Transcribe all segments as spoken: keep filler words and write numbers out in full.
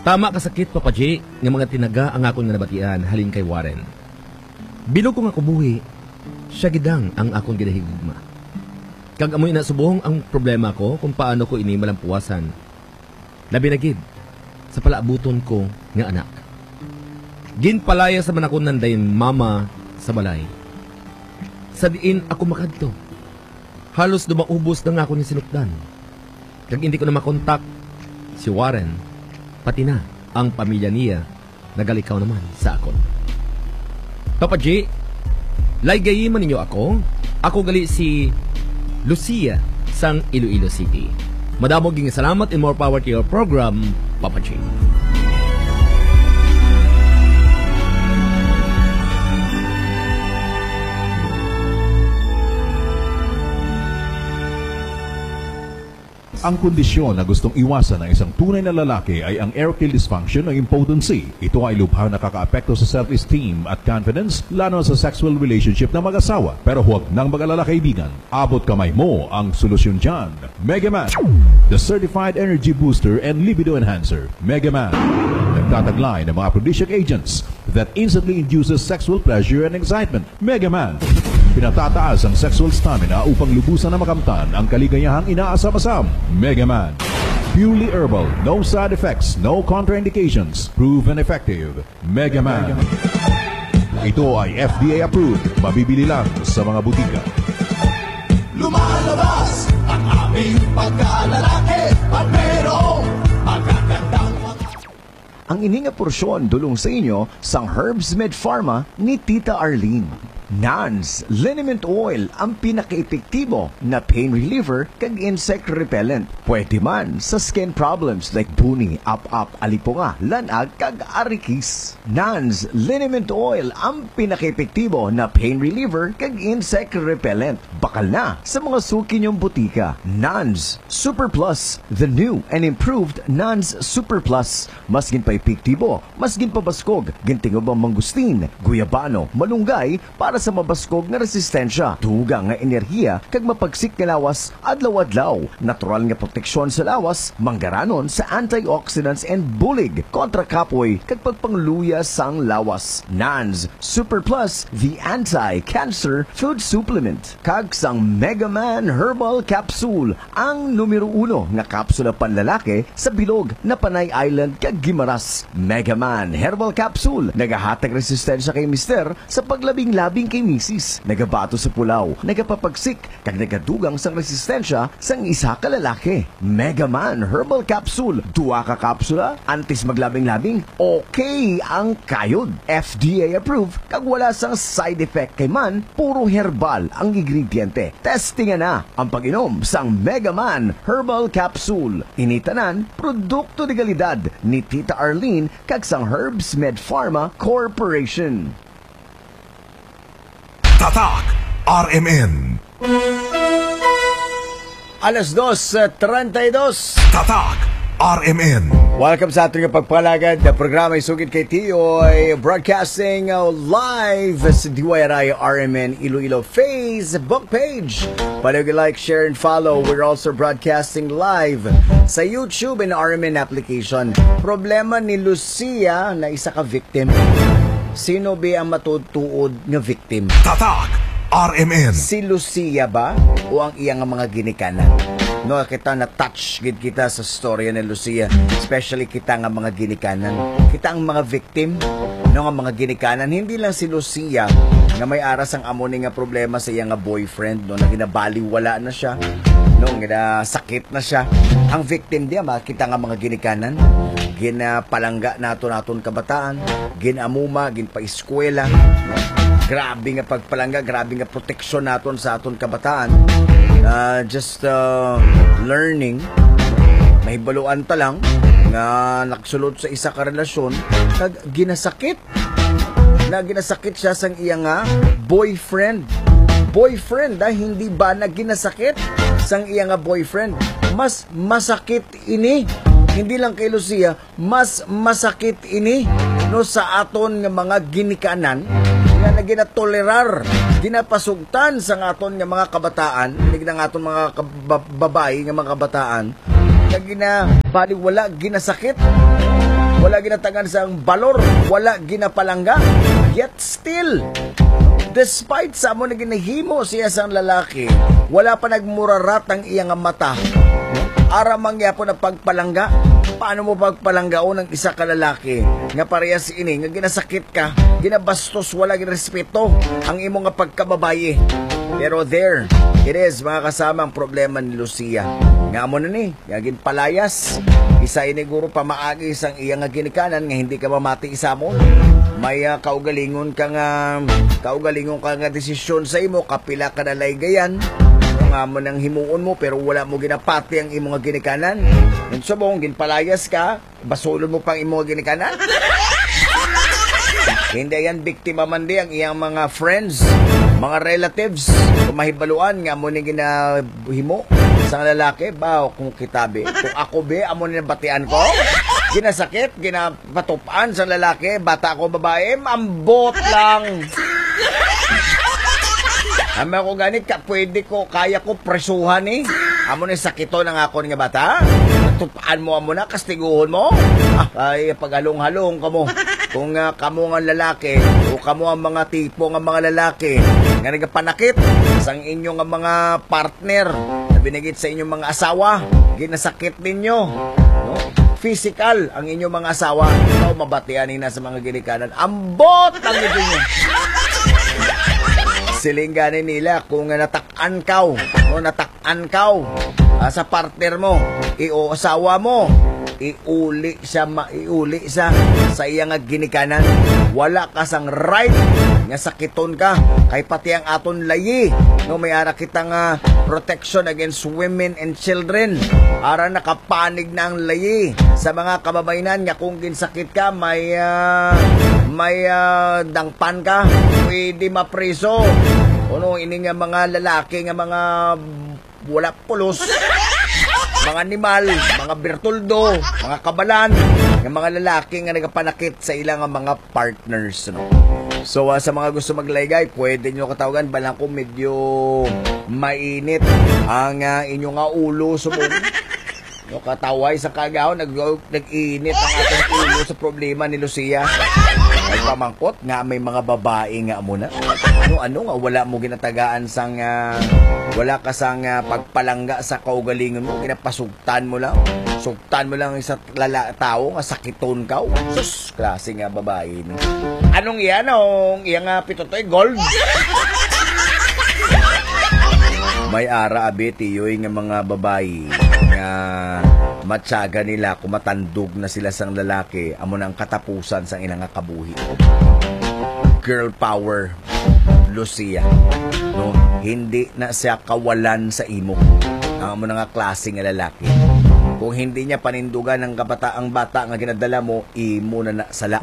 Tama ka sakit, Papa G, nga mga tinaga ang akon nga nabatian halin kay Warren. Bilog ko nga kubuhi, siya gid ang akon ginahigugma. Kag amo ina subong ang problema ko kung paano ko ini malampuwasan. Labi na gid sa palaabuton ko nga anak. Ginpalayas naman ako nanday mama sa balay. Sa diin ako makadto? Halos dumaubos na nga ako ni sinukdan. Kag hindi ko na makontak si Warren, pati na ang pamilya niya nagalikaw naman sa akon. Papa G, laygayi man ninyo ako. Ako gali si Lucia sang Iloilo City. Madamo ging salamat and more power to your program, Papa G. Ang kondisyon na gustong iwasan ng isang tunay na lalaki ay ang erectile dysfunction o impotency. Ito ay lubhang nakakaapekto sa self-esteem at confidence, lalo na sa sexual relationship ng mag-asawa. Pero huwag nang mag-alala, kaibigan. Abot kamay mo ang solusyon dyan. Megaman, the certified energy booster and libido enhancer. Megaman, nagtataglay ng mga aphrodisiac agents that instantly induces sexual pleasure and excitement. Megaman, pinatataas ang sexual stamina upang lubusan na makamtan ang kaligayahang inaasam-asam. Megaman, purely herbal, no side effects, no contraindications, proven effective. Megaman. Ito ay F D A approved. Mabibili lang sa mga butika. Lumalabas ang aming pagkalalaki at mayroong magagandang mga Ang ini nga porsyon dulong sa inyo sang Herbs Med Pharma ni Tita Arlene. Nans Liniment Oil ang pinakaepektibo na pain reliever kag insect repellent. Pwede man sa skin problems like buni, ap-ap, alipunga, lanag, kag arikis. Nans Liniment Oil ang pinakaepektibo na pain reliever kag insect repellent. Bakal na sa mga suki niyong butika. Nans Super Plus, the new and improved Nans Super Plus. Mas ginpaepektibo, mas ginpabaskog, gintingubo ang mangustin, guyabano, malunggay, para sa mabaskog nga resistensya, dugang nga enerhiya, kag mapagsik nga lawas adlaw-adlaw. Natural nga proteksyon sa lawas, manggaranon sa antioxidants and bulig kontra kapoy kag pagpangluya sang lawas. Nans Super Plus, the anti-cancer food supplement. Kag sang Mega Man Herbal Capsule, ang numero uno nga kapsula panlalaki sa bilog na Panay Island kag Guimaras. Mega Man Herbal Capsule nagahatag resistensya kay mister sa paglabing-labing kay misis. Nagabato sa pulaw, nagapapagsik, kag nagadugang sang resistensya sang isa ka lalaki. Mega Man Herbal Capsule, duha ka kapsula antes maglabing-labing, okay ang kayod. F D A approved kag wala sang side effect kay man, puro herbal ang ingrediente. Testingan na ang pag-inom sang Mega Man Herbal Capsule. Ini tanan produkto de kalidad ni Tita Arlene kag sang Herbs Med Pharma Corporation. Tatak R M N. Alas dos, treinta y dos. Tatak R M N. Welcome sa aton nga pagpalagad na programa, Isugid kay Tiyoy, broadcasting, uh, live sa D Y R I R M N Iloilo Facebook page. Palagi like, share, and follow. We're also broadcasting live sa YouTube and R M N application. Problema ni Lucia na isa ka victim. Sino ba ang matuod-tuod nga victim? Tatak R M N. Si Lucia ba o ang iya nga mga ginikanan? No, kita na-touch gid kita sa storya ni Lucia, especially kita nga mga ginikanan. Kita ang mga victim, no, nga mga ginikanan. Hindi lang si Lucia nga may ara sang amo ni nga problema sa iya nga boyfriend, no, na ginabaliwala na siya, no, ginasakit na siya. Ang victim diya, ma-, kita nga mga ginikanan, ginapalangga nato naton kabataan, ginamuma, ginpaeskwela, no? Grabe nga pagpalangga, grabe nga proteksyon naton sa aton kabataan. Ah, just, ah, learning, mahibaluan ta lang nga nagsulod sa isa ka relasyon kag ginasakit na ginasakit siya sang iya nga boyfriend. Boyfriend, ah, hindi ba na ginasakit sang iya nga boyfriend? Mas masakit ini. Hindi lang kay Lucia, mas masakit ini, no, sa aton nga mga ginikanan nga naginatolerar, ginapasugtan sang aton nga mga kabataan, inig nga aton mga kab-, babayi nga mga kabataan, nga ginabaliwala, ginasakit. Wala ginatagan sang balor, wala ginapalangga. Yet still, despite sa amo na ginahimo siya sang lalaki, wala pa nagmurarat ang iya nga mata. Ara man gyapon ang pagpalangga. Paano mo pagpalanggaon ang isa ka lalaki nga parehas ini, nga ginasakit ka, ginabastos, wala ginrespeto ang imo nga pagkababayi? Pero there it is, mga kasama, ang problema ni Lucia. Nga amo na ni, nga ginpalayas. Isa ini guro pamaagi sang iya nga ginikanan nga hindi ka mamati sa mo. May, ah, kaugalingon ka nga, kaugalingon ka nga desisyon sa imo, kapila ka nalaygayan. Nga mo nang himuon mo, pero wala mo ginapati ang imo nga ginikanan. Yung subong, ginpalayas ka, basulon mo pang imo nga ginikanan. Hindi yan biktima man di ang iyang mga friends, mga relatives, kung mahibaluan nga mo ni ginahimo sang lalaki, ba, kung kita, be. Kung ako, be, amo ni nabatian ko. Ginasakit, ginapatupan sa lalaki, bata ko, babae, ambot lang. Amo ko gani, ka, pwede ko, kaya ko, presuhan, eh. Amo ni sakiton ang akon nga bata. Tupan mo, amo na, kastiguhon mo. Ah, ay, paghalong-halong kamo. Kung, ah, kamo nga lalaki, o kamo ang mga tipo nga mga lalaki, nga nagapanakit sang inyo nga mga partner, na binigit sa inyong mga asawa, ginasakit ninyo, no? Physical ang inyong mga asawa, ikaw mabatian ina sa mga ginikanan. Ambot ang ito nyo. Siling gani nila kung nga natak-an kaw, no, natak-an kaw, ah, sa partner mo, i-, o asawa mo, iuli siya, ma-, iuli siya sa iya nga ginikanan. Wala ka sang right nga sakiton ka, kay pati ang aton layi, no, may ara kita nga protection against women and children. Ara nakapanig na ang layi sa mga kababayanan nga kung ginsakit ka, may, ah, may, ah, dangpan ka, pwede mapriso. Kuno ini nga mga lalaki nga mga wala pulos, mga animal, mga birtuldo, mga kabalan, nga mga lalaki nga nagapanakit sa ila nga mga partners, no? So, ah, sa mga gusto maglaygay, pwede nyo katawagan. Balang ko medyo mainit ang, ah, inyo nga ulo, subong. No, kataway sa kagaw, nag-, nag-init ang atong ulo sa problema ni Lucia. Nagpamangkot nga may mga babae nga amo na. Ano, ano nga wala mo ginatagaan sang, ah, wala ka sang, ah, pagpalangga sa kaugalingon mo, ginapasugtan mo lang. Sugtan mo lang sa lala, tao nga sakiton ka. Sus, klase nga babae ni. Anong iya, nong iya nga pitutoy gold? May ara, abi, tiyoy, nga mga babayi nga matyaga nila kung matandog na sila sang lalaki, amo na ang katapusan sang ila nga kabuhi. Girl power, Lucia, no? Hindi na siya kawalan sa imo. Ang amo na nga klase nga lalaki. Kung hindi niya panindugan ang kabata, ang bata nga ginadala mo, imo na na sala.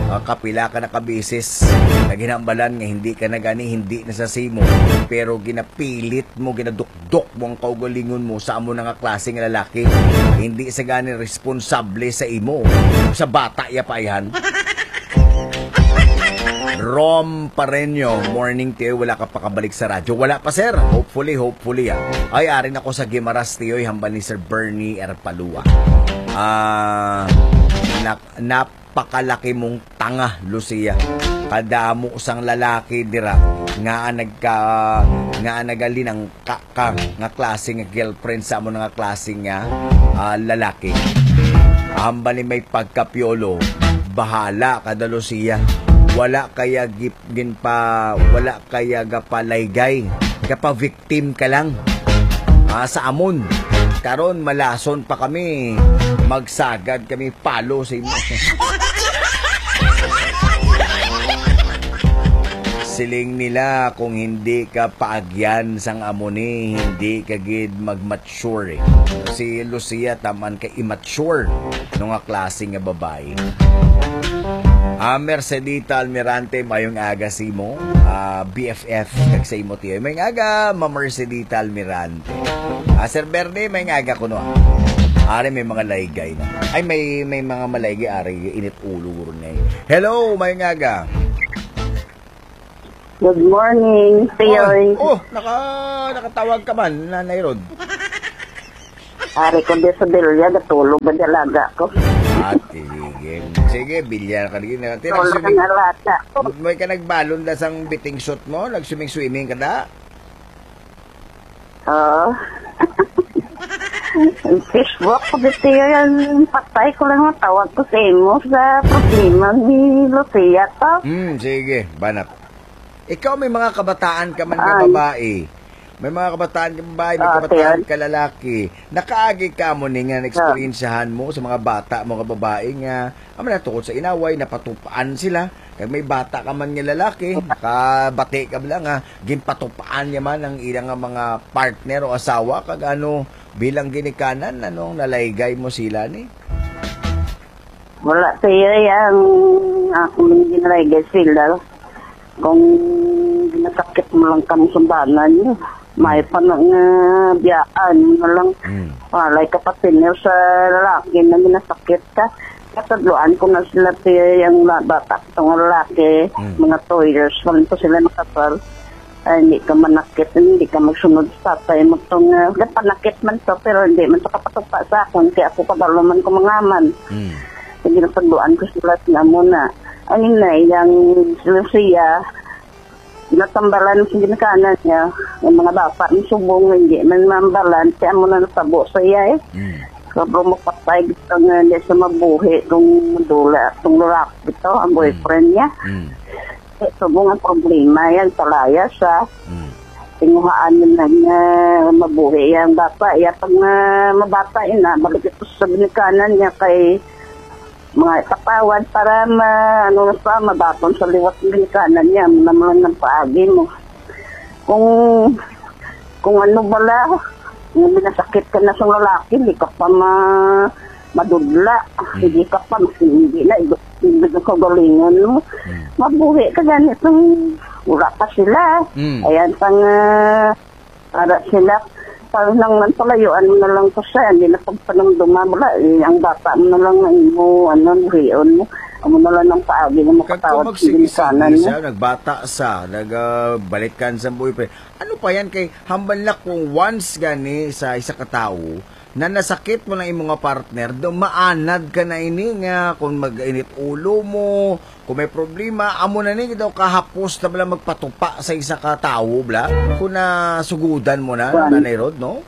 Ah, kapila ka na ka beses nga ginhambalan nga hindi ka na gani, hindi na sa simo, pero ginapilit mo, ginadukdok mo ang kaugalingon mo sa amo na nga klase nga lalaki. Hindi sa gani responsable sa imo, sa bata ya pa ayhan. Rom Pareño, morning, Teo. Wala ka pakabalik sa radyo? Wala pa, sir. Hopefully, hopefully, ah. Ay, ari na ko sa Guimaras, Teo, hambal ni Sir Bernie Erpalua. Ah, nak-, napakalaki mong tanga, Lucia. Kadamo sang lalaki dira nga nagka-, nga nagalinang ka, ka nga klase nga girlfriend sa amo na nga klase nga, ah, lalaki. Hambal ni may pagkapiolo, bahala ka, Lucia. Wala kaya gip-, ginpa-, wala kaya gapalaygay, gapa-victim ka lang. Ah, sa amon. Karon, malason pa kami. Magsagad kami palo sa imo. Siling nila, kung hindi ka paagyan sang amo ni, hindi ka gid mag-mature, eh. Si Lucia, taman ka immature, no, nga klase nga babae. Ah, Mercedita Almirante, mayong aga sa imo. Ah, B F F, kag sa imo, tiyo. Mayong aga, Ma Mercedita Almirante. Ah, Sir Bernie, mayong aga kuno, ah. Ari, may mga laygay na. Ay, may, may mga malaygay, ari, init ulo, guro na, eh. Hello, mayong aga. Good morning, Tiyoy. Oh, oh, naka-, nakatawag ka man, Nanay Rod. Ari ko di sa bilya, natulog ba di alaga ko? Ate, sige. Sige, bilyar ka rin. Tira, Tulog swimming. Ang alaga ko. May ka nagbalon da sang bathing suit mo? Nag-swimming-swimming ka da? Oo. Facebook ko dito yan. Patay ko lang ang tawag ko sa imo sa problema ni Lucia to. Hmm, sige, banat. Ikaw may mga kabataan ka man nga Ay. babae. May mga kabataan ka babae, may Ah, kabataan tiyan. ka lalaki. Nakaagi ka mo ni nga Ah. naeksperiensyahan mo sa mga bata mo nga babae nga, amo na, tungod sa inaway, napatupaan sila. Kag may bata ka man nga lalaki, nakabati ka bala nga ginpatupaan niya man ang ilang nga mga partner o asawa, kag ano, bilang ginikanan, ano ang nalaygay mo sila ni? Wala, tiyo, ang akong ginalaygay sila. Kung ginasakit mo lang kamo sa banan niyo, may pa na nga biyaan mo na lang. Mm. Walay ka pa senior sa lalaki na ginasakit ka. Katadloan ko na sila, tiyo, ang la-, bata ko nga lalaki, Mm. mga two years pa lang to sila nakasal. Ay, hindi ka manakit, hindi ka magsunod sa tatay mo tong, ah, panakit man to, pero hindi man to kapatupa sa akon, kaya ako kabalo man ko mangaman. Mm. Sige, napagluan ko sila nga mo na. Ang inay, yang sila siya, natambalan sa ginikanan niya, ang mga bata, ang subong, hindi man mambalan, kaya mo na natabo sa iya eh. Mm. Sobrang mapatay, gusto nga hindi siya mabuhi kung madula, kung lalaki ito, ang Mm. boyfriend niya. Mm. Eh, subong ang problema yan, palaya siya. Mm. Tinguhaan niya na nga mabuhi ang bata. Iya pag na mabata ina, balik ito sa binikanan niya kay mga ipatawad para ma, ano na pa, mabaton sa liwat ng binikanan niya. Ano naman ang paagi mo? Kung, kung ano bala, kung minasakit ka na sa lalaki, hindi ka pa ma, madudla. Mm. Hindi ka pa, hindi na, hindi na kaugalingon mo. Mm. Mabuhi ka ganit nung wala pa sila. Mm. Ayan, pang, ah, para sila, parang nang man palayuan mo na lang ko siya, hindi na pagpanumduma, wala, eh, ang bata mo na lang ang imo, ano, buhion mo. Amo na lang ang paagi nga Kag makatawad kung sa magsige-sige ginikanan mo. siya, nagbata sa, nag, ah, balikan sa boyfriend. Ano pa yan kay hambal na kung once gani sa isa ka tawo na nasakit mo na imo nga partner, do maanad ka na ini nga kung mag-init ulo mo, kung may problema, amo na ni daw kahapos na bala magpatupa sa isa ka tawo, bla? Kung nasugudan mo na, Kuwan. Nanay Rod, no?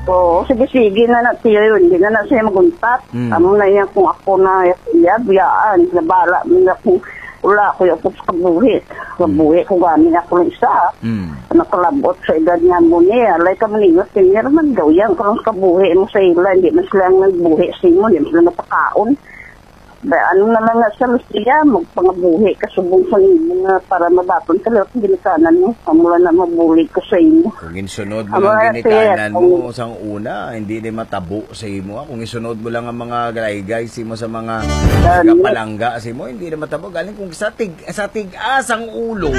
Oo, sige-sige na na, tiyo, hindi na na siya maguntat. Hmm. Amo na yan kung ako na iya, biyaan, nabala mo na kung wala ako yung sa kabuhi. Kabuhi ko gani ako lang isa. Hmm. Nakalabot sa edad niya mo niya. Alay ka maningot, kanya naman daw yan. Kung kabuhi mo sa ila, hindi man sila ang nagbuhi sa imo, hindi man sila napakaon. Ba, ano na lang nga sa Lucia, magpangabuhi ka subong sa imo nga para mabaton ka lang sa ginikanan mo. Amo lang na mabulig ko sa imo. Kung insunod mo Amo lang lang, ginikanan sir, mo ang sang una, hindi na matabo sa imo, ah. Kung isunod mo lang ang mga galaygay sa imo sa mga Gani. nagapalangga sa imo, hindi na matabo. Galing kung sa tig-, sa tigas ang ulo,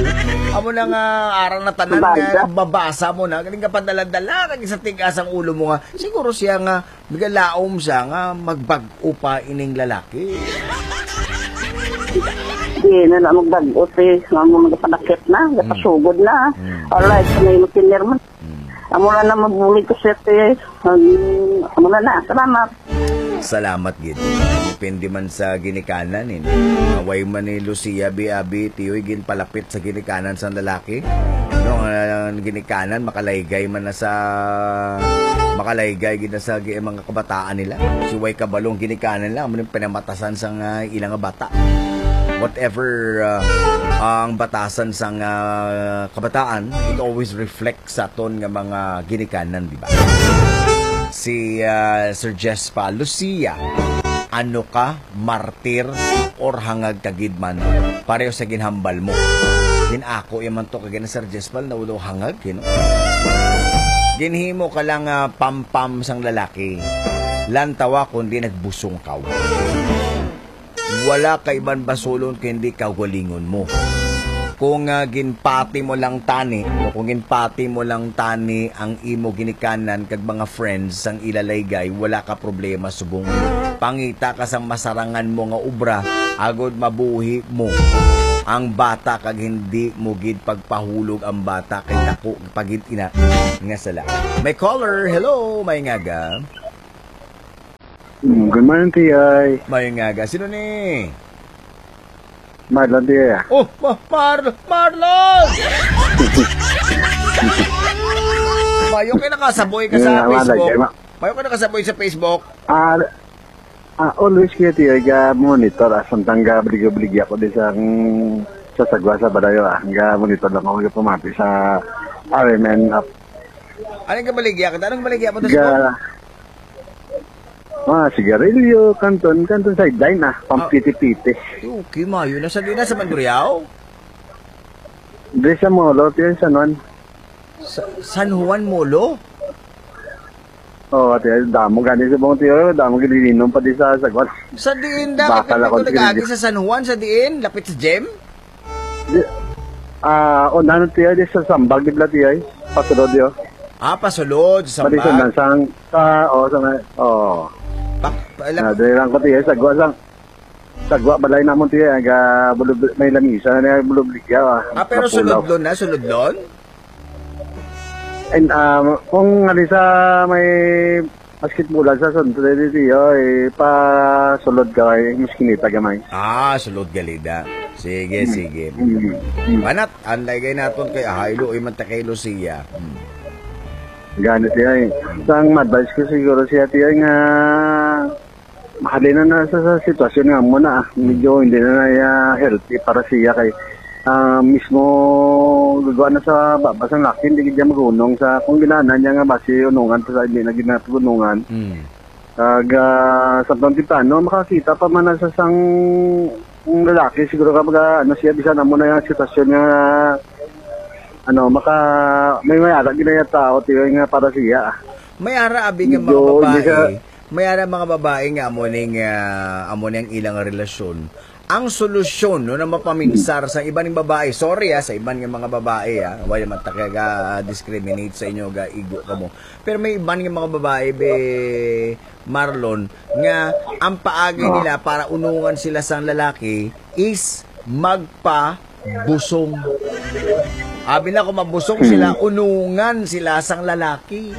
amo na nga arang na tanan nga Baga. nababasa mo na, galing ka padala-dala, kag sa tigas ang ulo mo nga, siguro siya nga nagalaom siya nga magbag-o pa ining lalaki. Di na na magbag-o, si, nga mo nagapanakit na, Hmm. nagapasugod na. Hmm. Alay, sa may matinir man. Hmm. Amo na na mabulig ko siya, te. Ang, amo na na. Salamat. Salamat gid. Depende man sa ginikanan, eh. Away man ni Lucia, bi-, abi, tiyoy, ginpalapit sa ginikanan sang lalaki. No, ang ginikanan, makalaygay man na sa, makalaygay gid na sa gi-, mga kabataan nila. Si way kabalong ginikanan lang, amo ni pinamatasan sang, ah, ilang bata. Whatever, ah, ang batasan sang, ah, kabataan, it always reflects sa aton nga mga ginikanan, di ba? Si, ah, Sir Jess pa, Lucia, ano ka, martir or hangag ka gid man? Pareho sa ginhambal mo. Din ako, yaman to, kag na Sir Jess pa, na ulo hangag, you know? Ginhimo ka lang, ah, pampam sang lalaki. Lantawa, kundi nagbusong ka. Wala ka iban basulon kundi kaugalingon mo. Kung, ah, ginpati mo lang tani, o kung ginpati mo lang tani ang imo ginikanan kag mga friends sang ila laygay, wala ka problema subong. Pangita ka sang masarangan mo nga obra, agod mabuhi mo. ang bata kag hindi mo gid pagpahulog ang bata kay dako pa gid ina nga sala. May caller, hello, may ngaga. Mm, good morning, T I. May ngaga, sino ni? Marlon, T I. Oh, Ma-, Mar-, Marlon! Mayo kay nakasaboy ka sa Yeah, wala, Facebook. Jema. Mayo kay nakasaboy sa Facebook. Ah, Ah, always kaya tiyo, ga monitor, ah, samtang ga baligya-baligya ko di sa, mm, sa sagwa sa balayo, ah. Ga monitor lang ako, ga pamati sa R M N app. Ano yung kabaligya ka? Anong baligya mo to sa Ga, ah, sigarilyo, kanton, kanton sideline, ah, Ah. pampiti-piti. Okay, mayo na sa, di na sa Mandurriao? Di sa Molo, tiyo, sa San Juan. Sa San Juan Molo? Oh, ate, damo gani sa bong tiyo, damo gilinom pa di sa sagwan. Sa diin da, Bakal kay ako ko nag-agi sa San Juan, sa diin, lapit sa gym? Di, ah, o, nano tiyo, di sa sambag, di bala tiyo, eh. Pasulod, yo. Ah, pasulod, sa Pati sa sambag. Nansang, sa, oh, sa, oh. Pa, pa, Ah, lap- dali lang ko tiyo, sagwa sang, sagwa balay namon tiyo, aga, bulub-, may lamisa na bulubligya, ah. Ah, pero Napulaw. Sulodlon na, sulodlon? And, um, kung ali sa may basketball sa Sunday, di, di, oy, pa sulod ka, ay, mas kinita gamay. Ah, sulod galida. Sige, Mm. sige. Mm. Mm. Manat, anday kay naton kay Ahaylo, iman ta kay Lucia. Mm. Ganit, ay. Mm. Sang ma-advise ko siguro siya, tiyo, nga Mahalin na na sa, sa sitwasyon nga mo na, ah. Medyo hindi na na, ah, healthy para siya kay, ah, mismo gagawa na sa baba sang laki, hindi gid siya magunong sa kung ginana niya nga basi unungan pa sa hindi na gid na pagunungan. Mm. Kag, ah, sa pang temprano, makakita pa man na sa sang, ang lalaki siguro kapag, ah, ano siya, bisan amo na yung sitwasyon nga, ano, maka-, may, may ara gid na yung tao, tiyo, nga para siya. May ara abi nga mga Medyo hindi babae, siya May ara mga babae nga amo ning, ah, amo ning ilang relasyon. Ang solusyon, no, na mapaminsar sa iban nga babae, sorry, ah, sa iban nga mga babae, ah, wala man ta kaga-discriminate sa inyo, ga igo kamo. Pero may iban nga mga babae, be, Marlon, nga ang paagi Oh. nila para unungan sila sang lalaki is magpa busong. Abi na, kung mabusong Hmm. sila, unungan sila sang lalaki.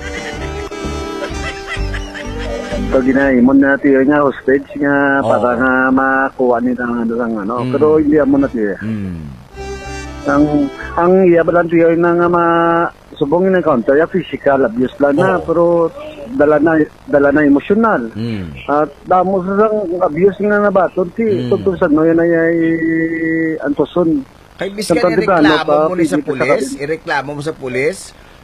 So, ginaimon na tiyo nga hostage nga Oo. para nga makuha nila ang ano, ang ano. Oo. Pero hindi amo na tiyo. Hmm. Ang, ang iya ba lang tiyo na nga ma-, Subong nga encounter, ya physical abuse lang na, Oo. pero dala na, dala na emosyonal. Mm. At damo sa sang abuse nga nabaton, ti, Mm. tungtong sa no, yan ay, ay antuson. Kay biskan Sa pagdibano ireklamo pa, mo ni sa pwede pa pulis, sa ireklamo mo sa pulis,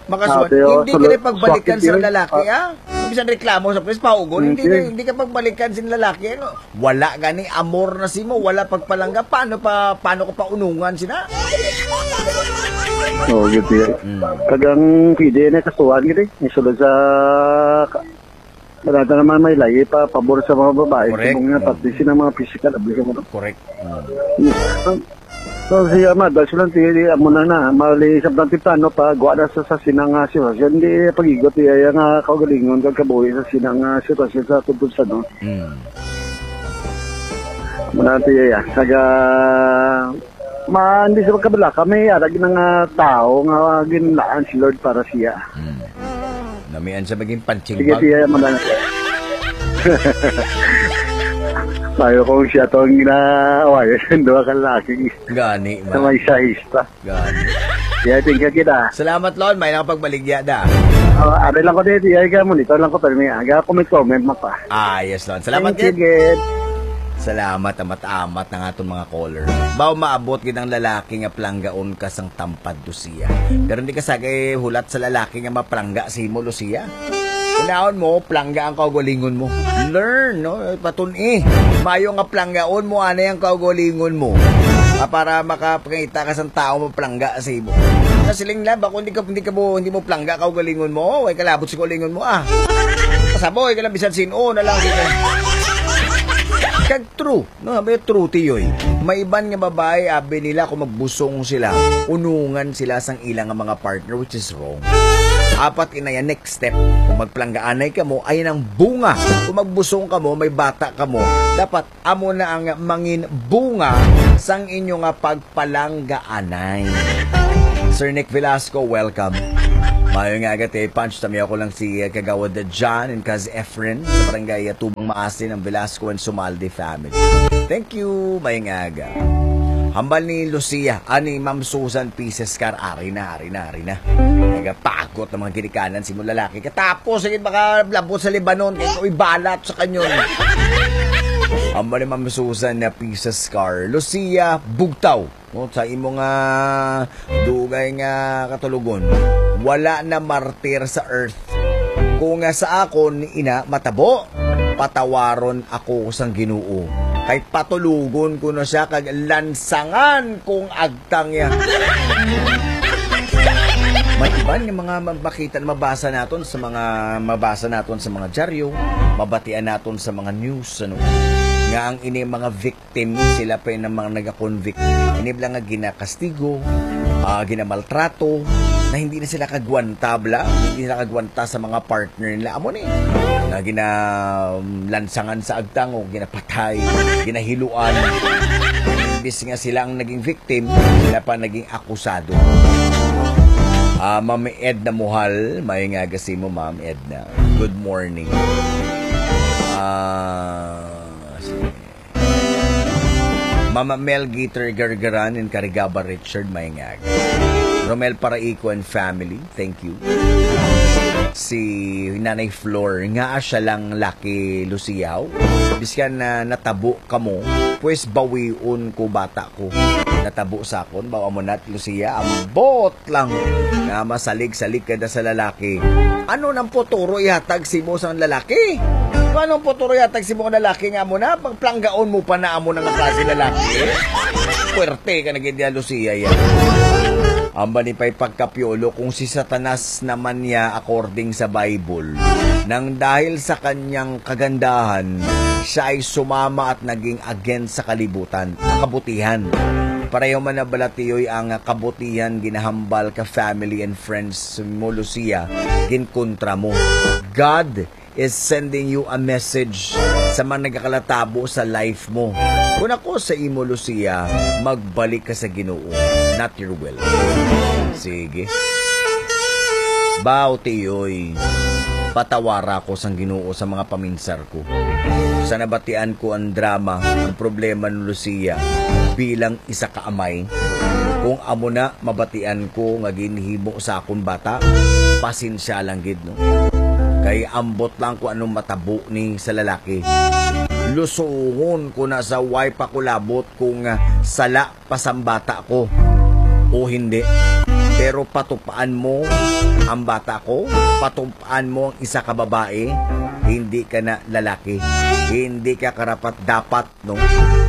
makasuhan, Ah, pero hindi sulod, ka na pagbalikan sa sulod, lalaki, ah. ah. Kung bisan reklamo sa pulis, paugon, hindi Hindi. na, hindi ka pagbalikan sa lalaki, ano? Wala gani amor na simo, wala pagpalangga. Paano pa, paano ko pa unungan sina? Oo, good yan. Mm. Kag ang pwede na kasuhan gid, eh. Isulod sa ka-, wala na naman may lahi pa, pabor sa mga babae. Correct. Kung nga, Mm. pati sila mga physical abuse mo. Correct. Mm. So, siya, madal sila, ti, amo na na, mali sa bang temprano pa, guwa na sa, sa sinang, ah, sitwasyon, di pagigot, iya, iya nga kaugalingon, kag kabuhi sa sinang, ah, sitwasyon sa tubod sa, no? Mm. Muna, ti, iya, naga, ma, hindi sa pagkabalaka, may arag na nga tao nga ginlaan si Lord para siya. Mm. Namian sa maging punching Sige, bag. Siya, madal. Tayo kung siya tong ginaawayan, duha ka lalaki. Gani, Sa man. May sahista. Gani. Yeah, thank you kita. Salamat, Lon. May lang pagbaligya da. Oh, ari lang ko dito, iya ka mo dito lang ko, pero may aga comment-comment mo pa. Ah, yes, Lon. Salamat, Thank you, gid. Gid. Salamat, amat-amat ng aton mga caller. Baw maabot gid ang lalaki nga planggaon ka sang tampad do siya. Pero hindi ka sagay hulat sa lalaki nga maplangga si mo, Lucia. Unaon mo, plangga ang kaugalingon mo. Learn, no? Patun-i. Mayo nga planggaon mo, anay ang kaugalingon mo. Ah, para makapangita ka sa tao mo, plangga sa imo. Nasiling lang, bako hindi ka, hindi ka mo, hindi mo plangga kaugalingon mo, way kalabot sa kaugalingon mo, ah. Kasaboy ka lang, bisan sin-o na lang, di ka. Kag true. No, may true, tiyoy. May iban nga babae, abi nila kung magbusong sila, unungan sila sang ila nga mga partner, which is wrong. Apat inaya next step. Kung magplanggaanay kamo, ay nang bunga. Kung magbusong kamo, may bata kamo, dapat amo na ang mangin bunga sang inyo nga pagpalanggaanay. Sir Nick Velasco, welcome. Mayo nga aga, Tay Punch. Tami ako lang si, uh, Kagawad John and Kaz Efren sa barangay, uh, Tubong Maasin, ang Velasco and Sumalde family. Thank you, mayo nga aga. Hambal ni Lucia, ani Ma'am Susan Pieces Car, ari na, ari na, ari na. Nagapakot ang mga ginikanan si mo lalaki. Katapos, sige, baka labot sa Lebanon, kay ako'y balat sa kanyon. Hambal ni Ma'am Susan na Pieces Car. Lucia, bugtaw. No, sa imo nga dugay nga katulugon, wala na martir sa earth. Kung nga sa akon ina matabo, patawaron ako sang Ginoo. Kay patulogon ko na siya kag lansangan kong agtang niya. May iban nga mga ma-, makita, mabasa naton sa mga, mabasa naton sa mga dyaryo, mabatian naton sa mga news, ano, nga ang ini mga victim, sila pa yung mga nagakonvict. Ini bala nga ginakastigo, ah, ginamaltrato, na hindi na sila kagwanta bala, hindi sila kagwanta sa mga partner nila. Amo ni, na ginalansangan sa agtang o ginapatay, ginahiluan. Imbis nga sila ang naging victim, sila pa naging akusado. Ah, Ma'am Edna Muhal, may nga aga sa imo, Ma'am Edna. Good morning. Ah, sige. Mama Mel Gator Gargaran and Karigaba Richard, may nga aga. Romel Paraico and family, thank you. Si Nanay Flor, nga siya lang laki Luciaw. Biskan na natabo kamo, pues bawion ko bata ko. Natabo sa akon, bawa mo nat Lucia, ambot lang nga masalig-salig ka na sa lalaki. Ano nang puturo ihatag si mo sa lalaki? Ano ang puturo ihatag si mo sa lalaki nga mo na? Pagplanggaon mo pa na amo na nga klase lalaki? Puwerte ka na gid, Lucia, yan. Amba ni pa'y pagkapiolo kung si Satanas naman niya, according sa Bible, nang dahil sa kanyang kagandahan, siya ay sumama at naging against sa kalibutan, kabutihan. Pareho man na balatiyoy ang kabutihan ginahambal ka family and friends mo, Lucia, ginkontra mo. God is sending you a message sa mga nagakalatabo sa life mo. Kung ako sa imo, Lucia, magbalik ka sa Ginoo, not your will. Sige. Bao, tiyoy, patawara ko sang Ginoo sa mga paminsar ko. Sa nabatian ko ang drama, ang problema ni Lucia bilang isa ka amay. Kung amo na mabatian ko nga ginhimo sa akon bata, pasensya lang gid, no? Kay ambot lang kung anong matabo ni sa lalaki. Lusungon ko na sa way pa ko labot kung, ah, sala pa sang bata ko o hindi. Pero patupaan mo ang bata ko, patupaan mo ang isa ka babae, hindi ka na lalaki. Hindi ka karapat-dapat, no,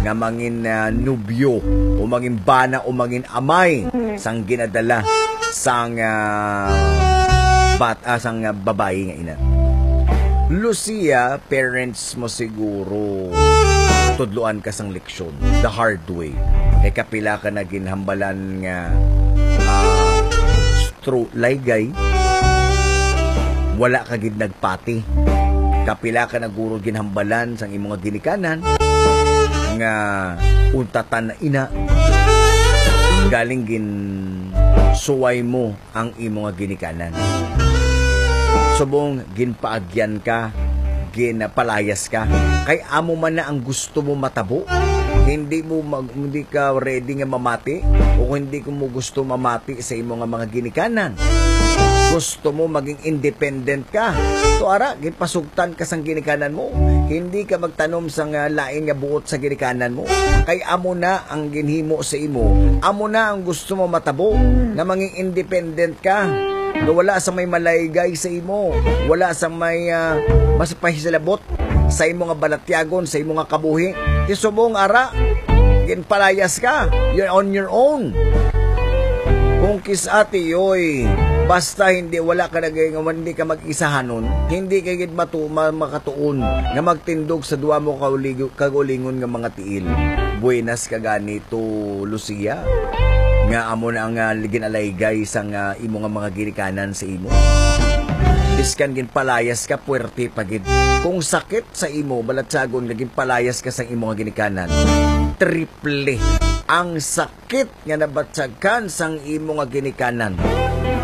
nga mangin, ah, nobyo o mangin bana o mangin amay sang ginadala sang, ah, bat-, ah, sang, ah, babayi nga ina. Lucia, parents mo siguro tudloan ka sang leksyon the hard way. Kay kapila ka na ginhambalan nga, ah, through laygay, wala ka gid nagpati. Kapila ka na guro ginhambalan sang imo nga ginikanan nga untatan na ina, galing ginsuway mo ang imo nga ginikanan. Subong ginpaagyan ka, ginpalayas ka. Kay amo man na ang gusto mo matabo. Hindi mo mag-, hindi ka ready nga mamati o hindi ko mo gusto mamati sa imo nga mga ginikanan. Gusto mo maging independent ka. To ara, ginpasugtan ka sang ginikanan mo. Hindi ka magtanom sang, ah, lain nga buot sa ginikanan mo. Kay amo na ang ginhimo sa imo. Amo na ang gusto mo matabo, nga mangin independent ka. Nga wala sa may malaygay sa imo. Wala sa may, ah, mas pahisalabot sa imo nga balatyagon, sa imo nga kabuhi. Ti subong ara, ginpalayas ka. You're on your own. Kung kis-a, tiyoy, basta hindi, wala ka nag-, hindi ka mag-isahanon, hindi ka gid matu-, ma-, makatuon nga magtindog sa duha mo ka uligo-, kag ulingon nga mga tiil. Buenas ka gani to, Lucia. nga amo na ang, ah, ginalaygay sang, ah, imo nga mga ginikanan sa imo. Biskan ginpalayas ka, puwerte pa gid. Kung sakit sa imo, balatyagon nga ginpalayas ka sang imo nga ginikanan, triple ang sakit nga nabatyag sang imo nga ginikanan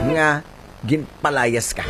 nga ginpalayas ka.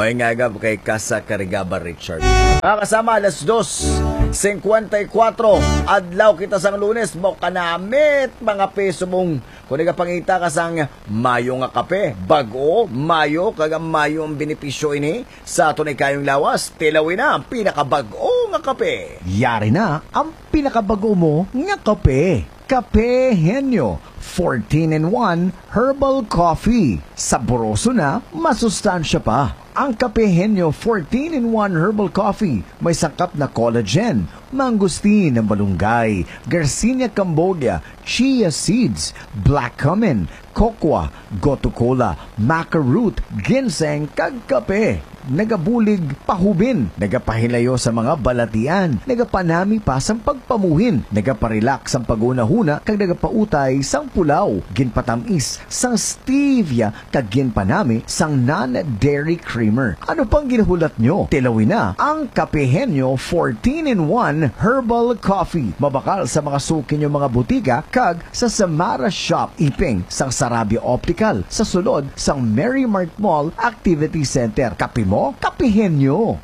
May nga kay Casa Carigaba Richard. Mga kasama, alas dos singkwenta y kuwatro, adlaw kita sang Lunes, mo kanamit, mga piso mong, kung nagapangita ka sang mayo nga kape, bag-o, mayo, kag mayo ang benepisyo ini sa aton ikayong lawas. Tilawin na ang pinakabag-o nga kape. Yari na ang pinakabag-o mo nga kape. Kape Henyo, fourteen-in-one Herbal Coffee. Saboroso na, masustansya pa. Ang Kape Henyo fourteen-in-one Herbal Coffee may sangkap na collagen, mangosteen, malunggay, Garcinia cambogia, chia seeds, black cumin, cocoa, gotu kola, maca root, ginseng, kag kape. Nagabulig pahubin, nagapahilayo sa mga balatian, nagapanami pa sang pagpamuhin, nagaparelax sang paghunahuna, kag nagapautay sang pulaw. Ginpatamis sang stevia kag ginpanami sang non-dairy creamer. Ano pang ginahulat nyo? Tilawin na ang Kape Henyo fourteen-in-one Herbal Coffee. Mabakal sa mga suki nyo mga butika kag sa Samara Shop, iping sang Sarabia Optical, sa sulod sang Merry Mart Mall Activity Center. Kape mo, Kape Henyo.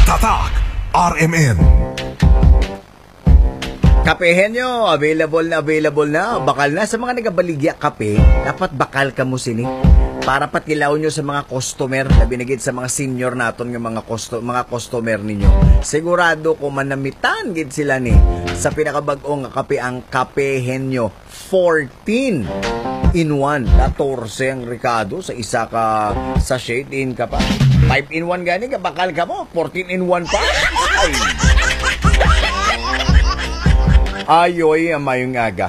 Tatak R M N. Kape Henyo, available na, available na. Bakal na sa mga nagabaligya kape, dapat bakal kamo sini. Para patilaw nyo sa mga customer, labi na gid sa mga senior naton nga mga custo-, mga customer ninyo. Sigurado ko manamitan gid sila ni sa pinakabag-o nga kape, ang Kape Henyo fourteen in one. Katorse ang rekado sa isa ka sachet, din ka pa. Five in one gani, kabakal kamo, fourteen in one pa. Ay. Ayoy, mayong aga.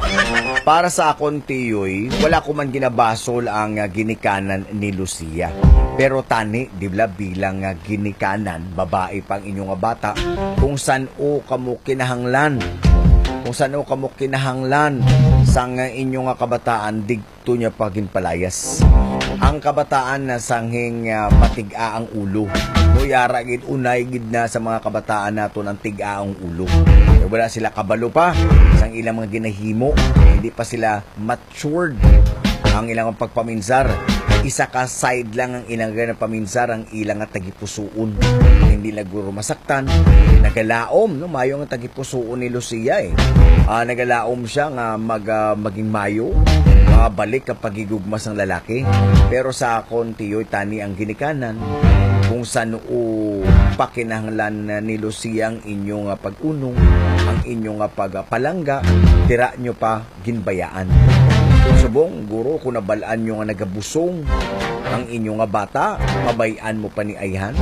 Para sa akon, Tiyoy, wala ko man ginabasol ang, ah, ginikanan ni Lucia. Pero tani, di ba, bilang, ah, ginikanan, babae pa ang inyo nga bata, kung san-o kamo kinahanglan, kung san-o kamo kinahanglan sang, ah, inyo nga kabataan, digto niya pa ginpalayas. Ang kabataan na sanghing, ah, matig-a ang ulo. Mo yara gid, unay gid na sa mga kabataan naton ang tig-a ang ulo. Kay wala sila kabalo pa sang ilang mga ginahimo. Hindi pa sila matured ang ilang pagpaminsar. Isa ka side lang ang ilang ginapaminsar, ang ilang nga tagipusuon. Hindi na guro masaktan. Nagalaom, no? Mayo nga tagipusuon ni Lucia, eh. Ah, nagalaom siya nga mag-, ah, maging mayo, mabalik ang paghigugma sang lalaki. Pero sa akon, Tiyoy, tani ang ginikanan. Kung san-o pa kinahanglan ni Lucia ang inyo nga pag-unong, ang inyo nga pagpalangga, tira nyo pa ginbayaan. Subong, guro, kung nabal-an nyo nga nagabusong ang inyo nga bata, pabay-an mo pa ni ayhan?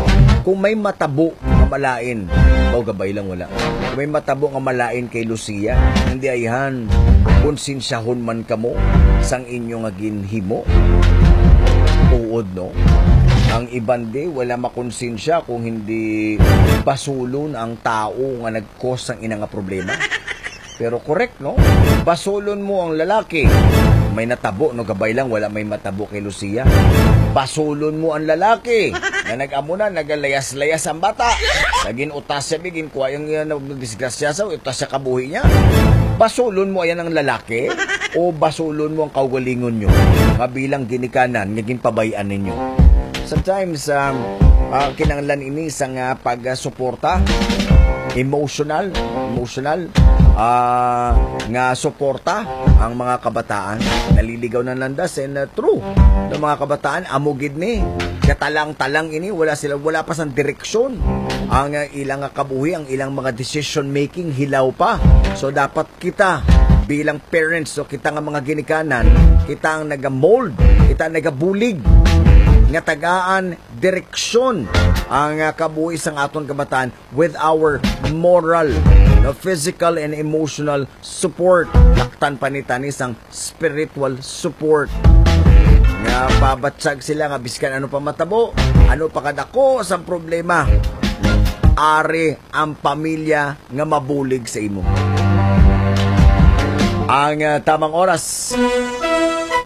Kung may matabo nga malain, o gabay lang, wala. Kung may matabo nga malain kay Lucia, hindi ayhan, konsensyahon man kamo sang inyo nga ginhimo. Tuod, no? Ang iban di, wala makonsensya kung hindi basulon ang tao nga nag-cause sang ina nga problema. Pero correct, no? Basulon mo ang lalaki. May natabo, no? Gabay lang, wala may matabo kay Lucia. Basulon mo ang lalaki na nag-amo na, nagalayas-layas ang bata. Naging utas siya, bigin kuha yung, uh, disgrasya sa utas sa kabuhi niya. Basulon mo ayan ang lalaki o basulon mo ang kaugalingon nyo nga bilang ginikanan nga ginpabayan ninyo? Sometimes, um, ah, kinahanglan ini sang, ah, pagsuporta, emotional, emotional, ah, nga suporta ang mga kabataan. Naliligaw na landas, and, ah, true. Ang mga kabataan, amo gid ni, katalang-talang ini, wala sila, wala pa sang direksyon. Ang, ah, ilang, ah, kabuhi, ang ilang mga decision making, hilaw pa. So, dapat kita bilang parents, so kita nga mga ginikanan, kita ang nagamold, kita ang nagabulig nga tagaan direksyon ang, ah, kabuhi sang aton kabataan with our moral, no, physical and emotional support. Laktan pa ni tani sang spiritual support nga pabatyag sila nga biskan ano pa matabo, ano pa kadako sang problema, ari ang pamilya nga mabulig sa imo. Ang, ah, tamang oras,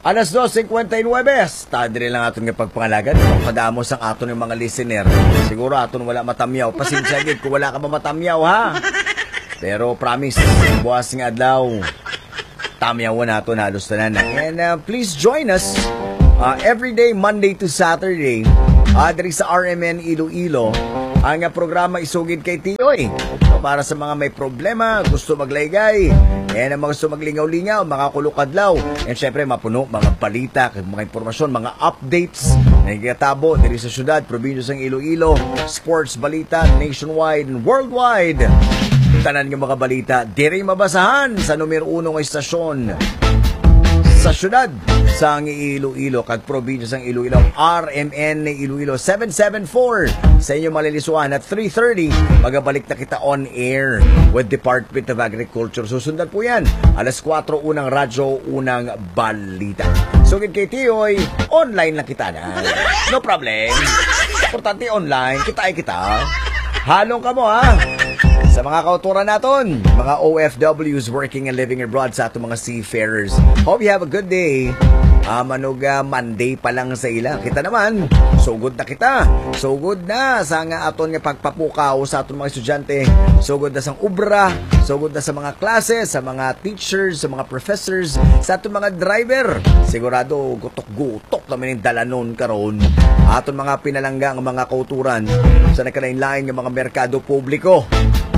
alas dos cincuenta y nueve. Sa dire lang aton nga pagpangalagad, kadamo sang aton nga mga listener. Siguro aton wala matamyaw. Pasensya gid kung wala ka ba matamyaw, ha? Pero promise, buwas nga adlaw, tamyawan naton halos tanan. And, uh, please join us, uh, every day, Monday to Saturday, uh, diri sa R M N Iloilo. Ang, uh, programa Isugid kay Tiyoy. So, para sa mga may problema, gusto maglaygay, and ang mga gusto maglingaw-lingaw, mga kulok adlaw, and syempre, mapuno, mga balita, mga impormasyon, mga updates na nagkatabo diri sa syudad, probinsya sang Iloilo, sports balita nationwide and worldwide. Tanan nga mga balita diri mabasahan sa numero uno nga istasyon sa syudad sang Iloilo kag probinsya sang Iloilo, R M N Iloilo seven seven four. Sa inyo malilisuan at three thirty, magabalik na kita on air with Department of Agriculture. Susundan po yan, alas kuwatro, unang radyo, unang balita. Sugid kay Tiyoy, online lang kita na. No problem. Importante online, kita ay kita. Halong ka mo, ha? Sa mga kauturan naton, mga O F Ws working and living abroad, sa atong mga seafarers. Hope you have a good day. Ah, manuga Monday pa lang sa ila. Kita naman, sugod na kita. Sugod na sa nga aton nga pagpapukaw sa aton mga estudyante. Sugod na sang obra, sugod na sa mga classes, sa mga teachers, sa mga professors, sa aton mga driver. Sigurado, gutok-gutok naman yung dalanon karon. Aton mga pinalangga nga mga kauturan sa nagkalain-lain nga mga merkado publiko.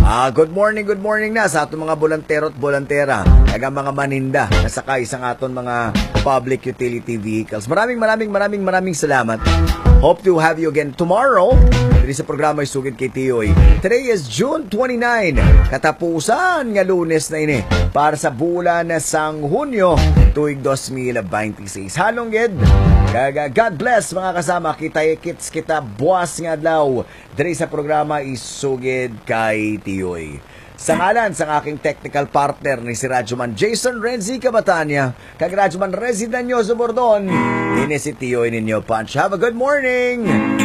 Ah, good morning, good morning na sa aton mga bolantero at bolantera, kag ang mga maninda nga sakay sa aton mga public utility vehicles. Maraming, maraming, maraming, maraming salamat. Hope to have you again tomorrow diri sa programa Isugid kay Tiyoy. Today is June twenty-nine. Katapusan nga Lunes na ini para sa bulan sang Hunyo, tuig dos mil twenty-six. Halong gid. Kag, ah, God bless, mga kasama. Kita-kits kita buwas nga adlaw diri sa programa Isugid kay Tiyoy. Sa ngalan sang aking technical partner ni si Radyoman Jason Renzi Cabatania kag Radyoman Renzi Danyoso Bordon, ini si Tiyoy ninyo, Punch. Have a good morning!